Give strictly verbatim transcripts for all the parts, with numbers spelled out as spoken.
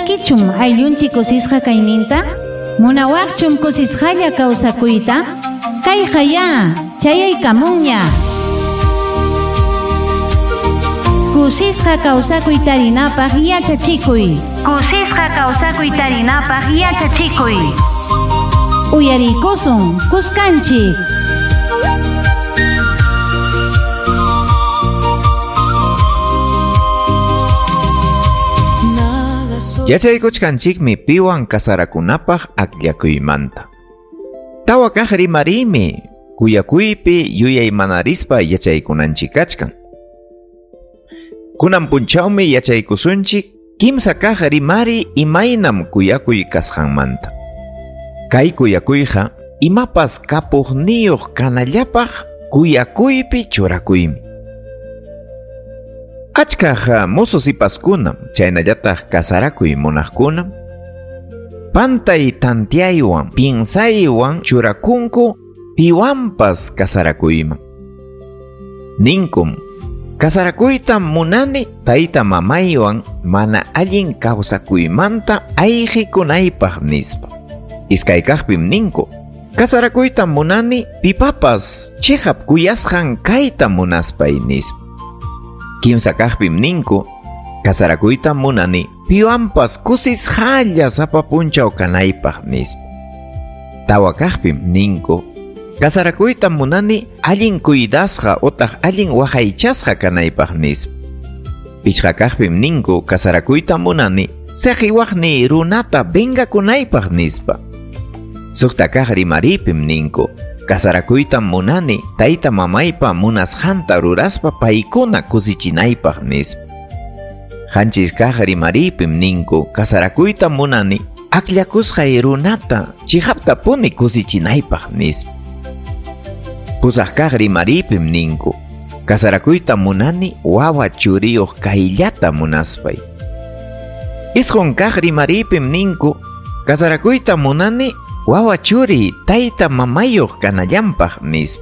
Munankichum ayllunchik kusisqa kayninta? Munawaqchum kusisqalla kawsakuyta? Kayqa ya, chayaykamunña. Kusisqa kawsakuy tarinapaq yachachikuy. Kusisqa kawsakuy tarinapaq yachachikuy. Uyarikusun, kuskanchik. Yachaykuchkanchikmi piwan kasarakunapaq akllakuymanta. Tawa kaq rimariymi kuyakuypi yuyaymanarispa yachaykunanchik kachkan. Kunan punchawmi yachaykusunchik kimsa kaq rimari imaynam kuyakuy kasqanmanta. Kay kuyakuyqa imapas kapuqniyuq kanallapaq kuyakuypi churakuymi. Achkaq mozo sipaskunam chaynallataq kasarakuy munaqkunam pantay tantiaywan piensaywan churakunku piwanpas kasarakuyman. Ninkum, kasarakuytam munani tayta mamaywan mana allin kawsakuymanta ayqikunaypaq nispa. Iskaykaqpim ninku, kasarakuytam munani pipapas chiqap kuyasqan kayta munaspay nispa. Kimsa kaqpim ninku, kasarakuytam munani piwanpas kusisqalla sapa punchaw kanaypaq nispa. Tawa kaqpim ninku, kasarakuytam munani allin cuidasqa otaq allin waqaychasqa kanaypaq nispa. Pichqa kaqpim ninku, kasarakuytam munani saqiwaqni runata vengakunaypaq nispa. Suqta kaq rimaripim ninku, kasarakuytam munani tayta mamaypa munasqanta ruraspa paykuna kusichinaypaq nispa. Qanchis kaq rimaripim ninku, kasarakuytam munani akllakusqay runata chiqaptapuni kusichinaypaq nispa. Pusaq kaq rimaripim ninku, kasarakuytam munani wawa churiyuq kayllata munaspay. Isqun kaq rimaripim ninku, kasarakuytam munani wawa churi tayta mamayuq kanallanpaq nispa.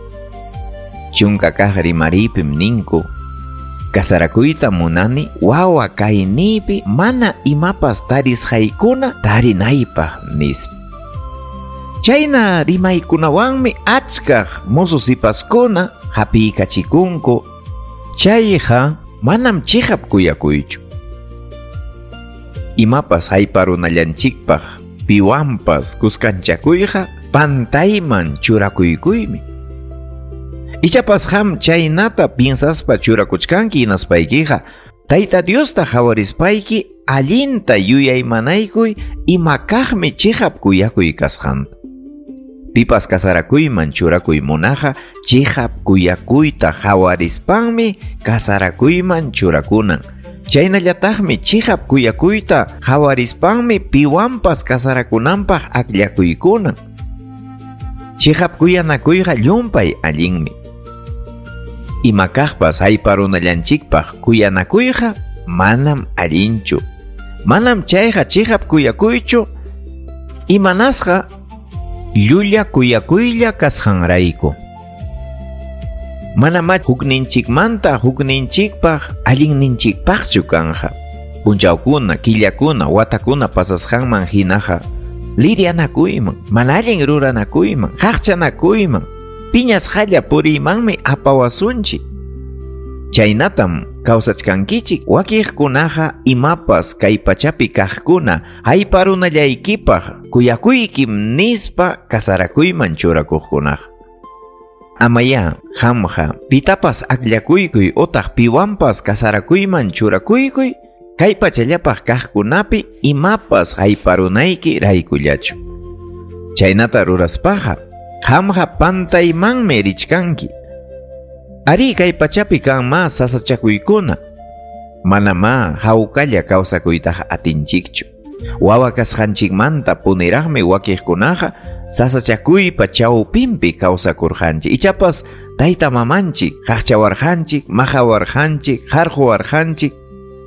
Chunka kaq rimaripim ninku, kasarakuyta munani wawa kayniypi mana imapas tarisqaykuna tarinaypaq nispa. Chayna rimaykunawanmi achkaq mozo sipaskuna hapiykachikunku, chayqa manam chiqap kuyakuychu. Imapas hayparunallanchikpaq piwanpas kuskanchakuyqa pantayman churakuykuymi. Ichapas qam chaynata piensaspa churakuchkanki hinaspaykiqa Tayta Diosta qhawarispayki allinta yuyaymanaykuy imakaqmi chiqap kuyakuy kasqanta. Pipas kasarakuyman churakuy munaqa chiqap kuyakuyta qhawarispanmi kasarakuyman churakunan. Chaynallataqmi chiqap kuyakuyta qhawarispanmi piwanpas kasarakunanpaq akllakuykunan. Chiqap kuyanakuyqa llumpay allinmi. Imakaqpas hayparunallanchikpaq kuyanakuyqa manam allinchu. Manam chayqa chiqap kuyakuychu, imanasqa llulla kuyakuylla kasqanrayku. Manamá hukninchikmanta hukninchikpaq allinninchikpaqchu kanja. Punchawkuna, killakuna, watakuna pasasqanman hinaqa lirianakuyman, mana allin ruranakuyman, qaqchanakuyman, piñasqalla puriymanmi apawasunchik. Chaynatam kawsachkankichik wakiqkunaqa imapas kay pachapi kaqkuna hayparunallaykipaq kuyakuykim nispa kasarakuyman churakuqkunaqa. Amaya, qamqa pitapas akllakuykuy otaq piwanpas kasarakuyman churakuykuy kay pachallapaq kaqkunapi imapas hayparunayki raykullachu. Chaynata ruraspaqa qamqa pantaymanmi richkanki. Ari kay pachapi kanma sasachakuykuna, manamá hawkalla kawsakuytaqa atinchikchu. Wawa kasqanchikmanta puniraqmi wakiqkunaqa sasachakuypa chawpinpi kawsakurqanchik. Ichapas tayta mamanchik qaqchawarqanchik, maqawarqanchik, qarquwarqanchik.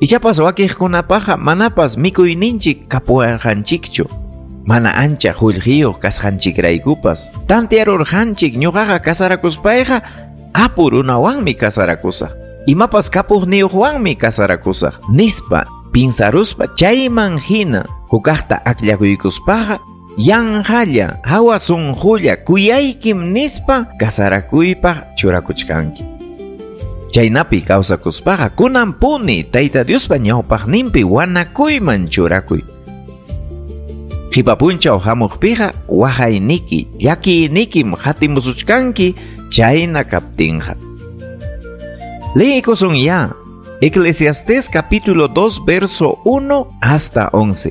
Ichapas wakiqkunapaqa manapas mikuyninchik kapuwarqanchikchu. Mana ancha qullqiyuq kasqanchikraykupas tantiarurqanchik ñuqaqa kasarakuspayqa apu runawanmi kasarakusaq, imapas kapuqniyuqwanmi kasarakusaq nispa Pinsaruspa chayman hina hukaqta akllakuykuspaqa yanqalla hawa sunqulla kuyaykim nispa kasarakuypaq churakuchkanki. Chaynapi kawsakuspaqa kunanpuni Tayta Diospa ñawpaqninpi wanakuyman churakuy. Qipa punchaw hamuqpiqa waqayniki llakiynikim hatimusuchkanki chayna kaptinqa. Leekusun ya Eclesiastés capítulo dos verso uno hasta once.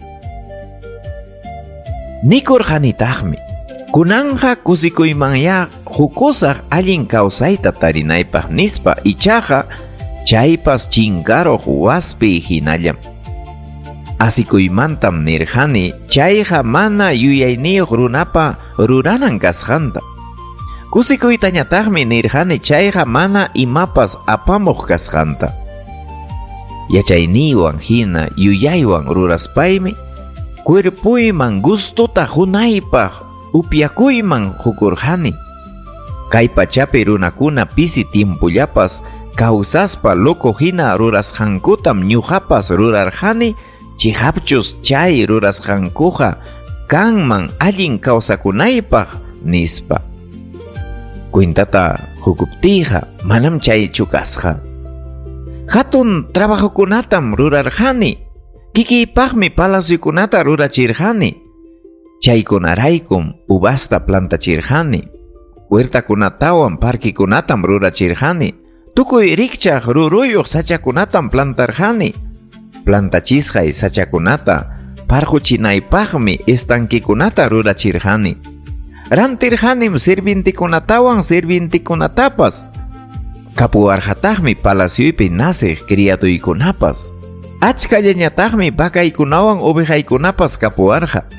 Nikurqanitaqmi kunanja kusikuymanya hukusaq allin kawsayta tarinaypaq nispa ichaqa chaypas chinkaruq waspi hinallam. Asikuymantam nirqani chayqa mana yuyayniyuq runapa ruranan kasqanta. Kusikuytañataqmi nirqani chayqa mana imapas apamuq kasqanta. Yachayniywan hina yuyaywan ruraspaymi cuerpuyman gustuta hunaypaq upyakuyman hukurqani. Kay pachapi runakuna pisi tiempullapas kawsaspa loco hina rurasqankutam ñuqapas rurarqani chihapchus chay rurasqankuqa kanman allin kawsakunaypaq nispa. Cuentata hukuptiyqa manam chaychu kasqa. Hatun trabajokunatam rurarqani, kikiypaqmi palaciokunata rurachirqani. Chaykunaraykum uvasta plantachirqani, huertakunatawan parquikunatam rurachirqani, tukuy rikchaq ruruyuq sachakunatam plantarqani. Plantachisqay sachakunata parquchinaypaqmi estanquikunata rurachirqani. Rantirqanim sirvientikunatawan sirvientikunatapas. Kapuwarqataqmi palacioypi naciq criaduykunapas. Achkallañataqmi vacaykunawan ovejaykunapas kapuwarqa.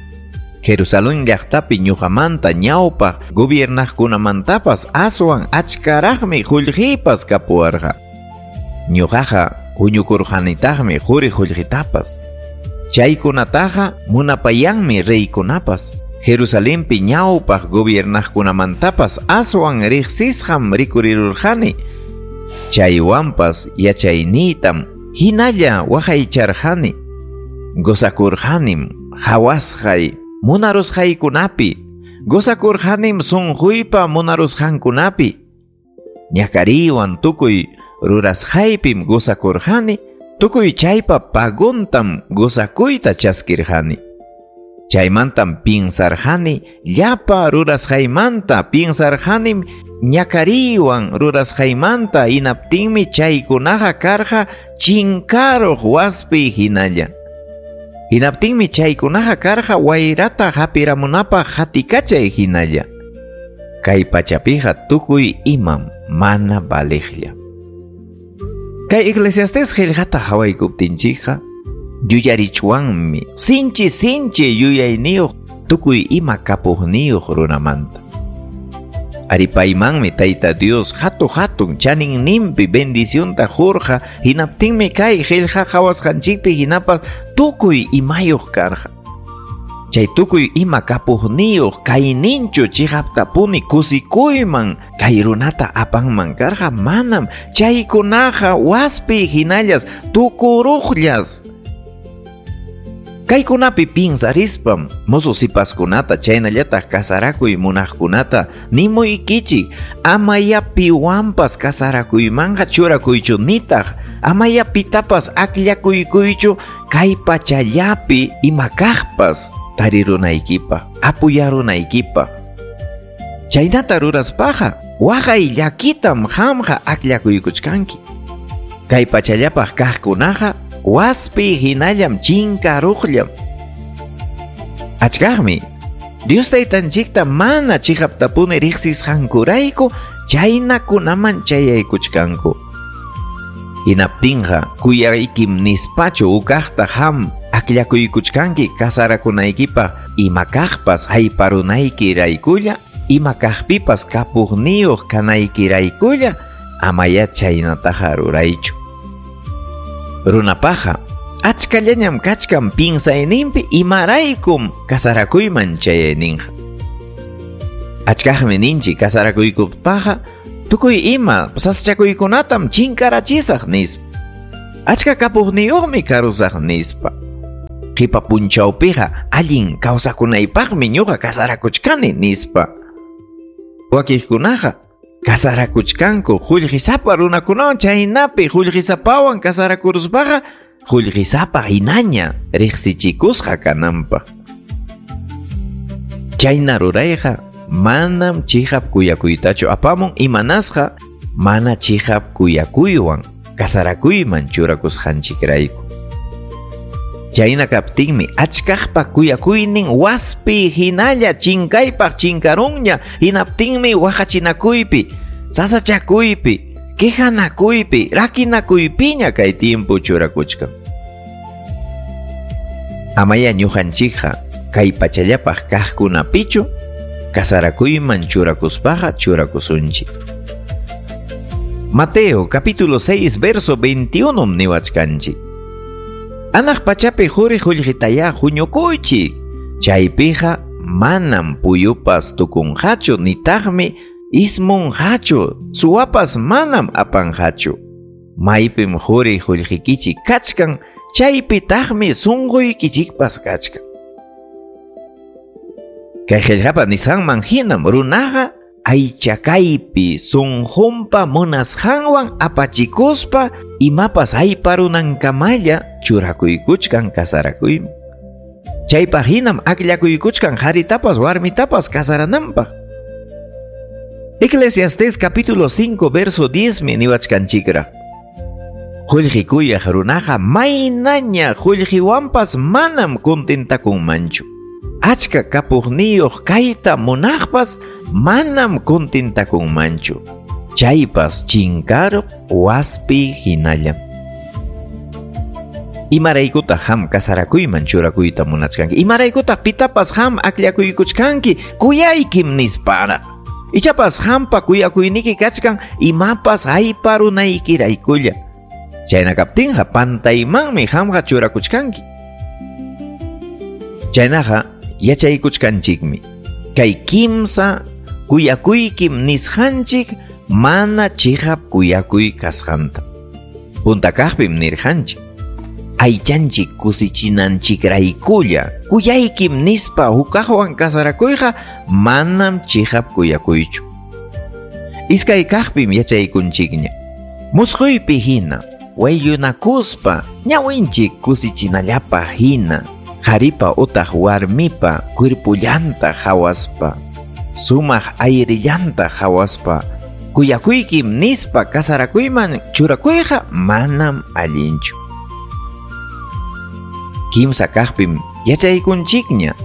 Jerusalén llaqtapi ñuqamanta ñawpaq gobiernaqkunamantapas aswan achkaraqmi qullqiypas kapuwarqa. Ñuqaqa huñukurqanitaqmi quri qullqitapas. Chaykunataqa munapayanmi reykunapas. Jerusalenpi ñawpaq gobiernaqkunamantapas aswan riqsisqam rikurirurqani. Chaywanpas yachayniytam hinalla waqaycharqani. Gozakurqanim hawasqay munarusqaykunapi, gozakurqanim sunquypa munarusqankunapi. Ñakariywan tukuy rurasqaypim gozakurqani, tukuy chaypa paguntam gozakuyta chaskirqani. Chaymantam pinsarqani llapa rurasqaymanta, pinsarqanim ñakariywan rurasqaymanta, hinaptinmi chaykunaqa karqa chinkaruq waspi hinalla. Hinaptinmi chaykunaqa karqa wayrata hapiramunapaq hatikachay hinalla. Kay pachapiqa tukuy imam mana valiqlla. Kay Eclesiastés qillqata hawaykuptinchikqa yuyarichwanmi sinchi sinchi yuyayniyuq tukuy ima kapuqniyuq runamanta. Aripaymanmi Tayta Dios hatu hatun chaninninpi bendicionta qurqa, hinaptinmi kay qillqa qhawasqanchikpi hinapas tukuy imayuq karqa. Chay tukuy ima kapuqniyuq kayninchu chiqaptapuni kusikuyman kay runata apanman karqa manam chaykunaqa waspi hinallas tukuruqllas. Kaykunapi pinsarispam mozo sipaskunata chaynallataq kasarakuy munaqkunata nimuykichik amaya piwanpas kasarakuymanqa churakuychu nitaq amaya pitapas akllakuykuychu kay pachallapi ima kaqpas tarirunaykipaq apuyarunaykipaq. Chaynata ruraspaqa waqay llakitam qamqa akllakuykuchkanki. Kay pachallapaq kaqkunaqa waspi hinallam chinkaruqllam. Achkaqmi Dios taytanchikta mana chiqaptapuni riqsisqankurayku chaynakunaman chayaykuchkanku. Hinaptinqa kuyaykim nispachu ukaqta ham akllakuykuchkanki kasarakunaykipaq ima kaqpas hayparunaykiraykulla ima kaqpipas kapuqniyuq kanaykiraykulla amaya chaynataqa ruraychu. Runapaqa achkallañam kachkan pinsayninpi imaraykum kasarakuyman chayayninqa. Achkaqmi ninchik kasarakuykupaqa tukuy ima sasachakuykunatam chinkarachisaq nispa. Achka kapuqniyuqmi karusaq nispa. Qipa punchawpiqa allin kawsakunaypaqmi ñuqa kasarakuchkani nispa. Wakiqkunaqa kasarakuchkanku qullqisapa runakunawan, chaynapi qullqisapawan kasarakuruspaqa qullqisapa hinaña riqsichikusqa kananpaq. Chayna rurayqa manam chiqap kuyakuytachu apamun, imanasqa mana chiqap kuyakuywan kasarakuyman churakusqanchikrayku. Chayna kaptinmi achkaqpa kuyakuynin waspi hinalla chinkaypaq chinkarunña, hinaptinmi waqachinakuypi, sasachakuypi, quejanakuypi, rakinakuypiña kay tiempo churakuchkan. Amaya ñuqanchikqa kay pachallapaq kaqkunapichu kasarakuyman churakuspaqa churakusunchik. Mateo capítulo seis verso veintiuno niwachkanchik. Anaq pachapi quri qullqitaya huñukuychik, chaypiqa manam puyupas tukunqachu nitaqmi ismunqachu, suwapas manam apanqachu. Maypim quri qullqikichik kachkan, chaypitaqmi sunquykichikpas kachkan. Kay qillqapa nisqanman hinam runaqa aychakaypi sunqunpa munasqanwan apachikuspa imapas ayparunankamalla churakuykuchkan kasarakuyman. Chaypaq hinam akllakuykuchkan qaritapas warmitapas kasarananpaq. Eclesiastés capítulo cinco verso diez mi niwachkanchikra. Qullqi kuyaq runaqa maynaña qullqiwanpas manam contentakunmanchu. Achka kapuqniyuq kayta munaqpas manam contentakunmanchu. Chaypas chinkaruq waspi hinallam. Imaraykutaq ham kasarakuyman churakuyta munachkanki? Imaraykutaq pitapas ham akllakuykuchkanki kuyaykim nispara? Ichapas hampa kuyakuyniki kachkan imapas ayparunaykiraykulla. Chayna kaptinqa pantaymanmi hamqa churakuchkanki. Chaynaqa yachaykuchkanchikmi kay kimsa kuyakuykim nisqanchik mana chiqap kuyakuy kasqanta. Punta kaqpim nirqanchik aychanchik kusichinanchikraykulla kuyaykim nispa hukaqwan kasarakuyqa manam chiqap kuyakuychu. Iskay kaqpim yachaykunchikña musquypi hina wayllunakuspa ñawinchik kusichinallapaq hina qharipa utaq warmipa cuerpullanta hawaspa sumaq ayrillanta hawaspa kuyakuykim nispa kasarakuyman churakuyqa manam allinchu. Kimsa kaqpim yachaykunchikña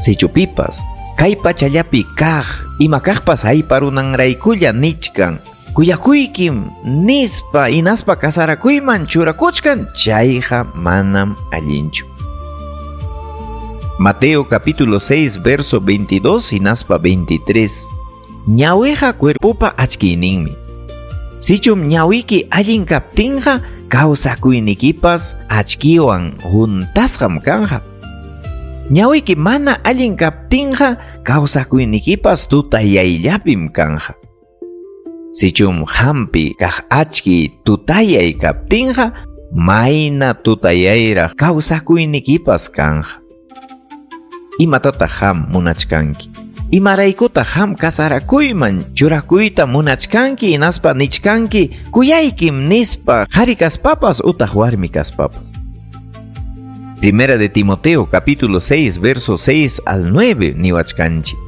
sichupipas kay pachallapi kaq ima kaqpas ayparunanraykulla nichkan kuyakuykim nispa inaspa kasarakuyman churakuchkan chayqa manam allinchu. Mateo capítulo seis verso veintidós hinaspa veintitrés. Ñawiqa cuerpopa achkiyninmi. Sichum ñawiki allin kaptinqa kawsakuynikipas achkiwan huntasqam kanja. Ñawiki mana allin kaptinqa kawsakuynikipas tutayayllapim kanja. Sichum hampi kaq achki tutayay kaptinqa mayna tutayayraq kawsakuynikipas kanja. Imatataq ham munachkanki? Imaraykutaq ham kasarakuyman churakuyta munachkanki hinaspa nichkanki kuyaykim nispa qhari kaspapas utaq warmi kaspapas. Primera de Timoteo capítulo seis verso seis al nueve niwachkanchik.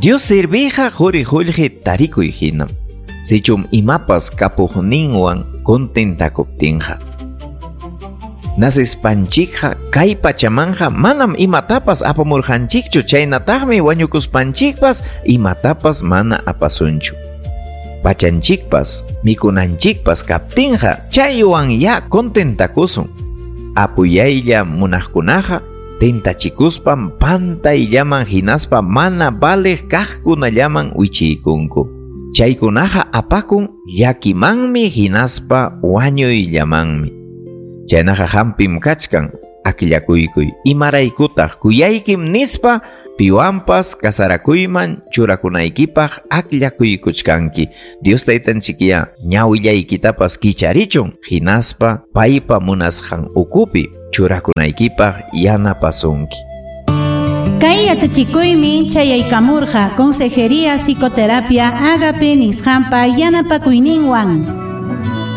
Dios servija quri qullqi tarikuy hinam. Sichum imapas kapuqninwan contentakuptinqa. Nasispanchikqa kay pachamanja manam imatapas apamurqanchikchu, chaynataqmi wañukuspanchikpas imatapas mana apasunchu. Pachanchikpas mikunanchikpas kaptinqa chaywan ya contentakusun. Apuyaylla munaqkunaqa tentachikuspan pantayllaman hinaspa mana valeq kaqkunallaman wichiykunku. Chaykunaqa apakun llakimanmi hinaspa wañuyllamanmi. Chaynaqa hampim kachkan akllakuykuy imaraykutaq kuyaykim nispa Piwanpas kasarakuyman churakunaykipaq akllakuykuchkanki. Dios taytanchikya ñawillaykitapas kicharichun hinaspa paypa munasqan ukupi churakunaykipaq yanapasunki. Kay yachachikuymi chayaykamurqa Consejería Psicoterapia Ágape nisqanpa yanapakuyninwan.